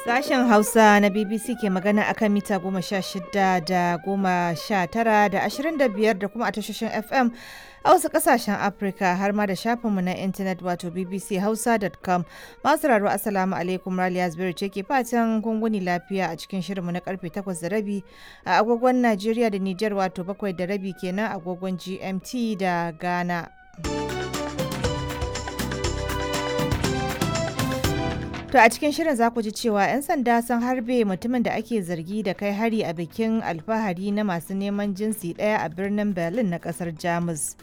Sashen Hausa na BBC ke magana akan mita 16 da 19 da 25 da kuma a tashoshin FM a wasu kasashen Afirka har ma da shafinmu na intanet wato bbchausa.com. Masu raro, Assalamu alaikum, Raliya Zubairu ce ke fatan gunguni lafiya a cikin shirinmu na karfe 8:30 a agogon Najeriya da Nijar, wato 7:30 kenan agogon GMT da Ghana. To a cikin shirin za ku ji cewa 'yan sanda sun harbe mutumin da ake zargi da kai hari a bikin alfahari na masu neman jinsi ɗaya a birnin Berlin na ƙasar Jamus.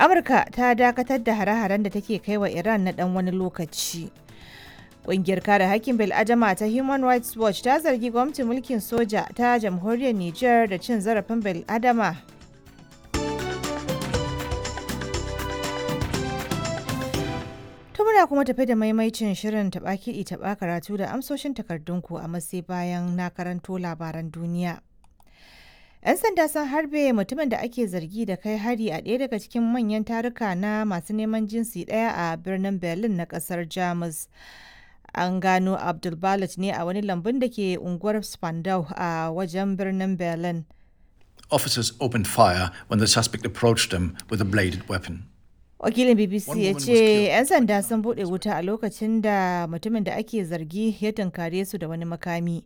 Amurka ta dakatar da hare-haren da take kai wa Iran na ɗan wani lokaci. Ƙungiyar kare hakkin bil'adama ta Human Rights Watch ta zargi gwamnatin mulkin soja ta jamhuriyar Nijar da cin zarafin bil'adama. To muna kuma tafi da maimaicin shirin taɓa kiɗi taɓa karatu da amsoshin takardunku, a matsayi bayan na karanto labaran duniya. 'Yan sanda sun harbe mutumin da ake zargi da kai hari a ɗaya daga cikin manyan taruka na masu neman jinsi ɗaya a birnin Berlin na ƙasar Jamus. An gano Abdul Balut ne a wani lambun da ke unguwar Spandau a wajen birnin Berlin. Officers opened fire when the suspect approached them with a bladed weapon. Wakilin BBC One ya woman was ce killed. 'yan sanda sun bude wuta a lokacin da mutumin da ake zargi ya tunkare su da wani makami.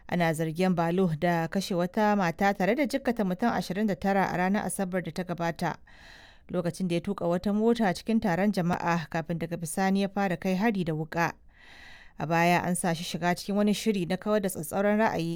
Ana zargin Balo da kashe wata mata tare da jikkata mutum 29 a ranar Asabar da ta gabata, lokacin da ya tuka wata mota cikin taron jama'a kafin daga bisani ya fara kai hari da wuka. A baya an sa shi shiga cikin wani shiri na kawar da tsatsauran ra'ayi.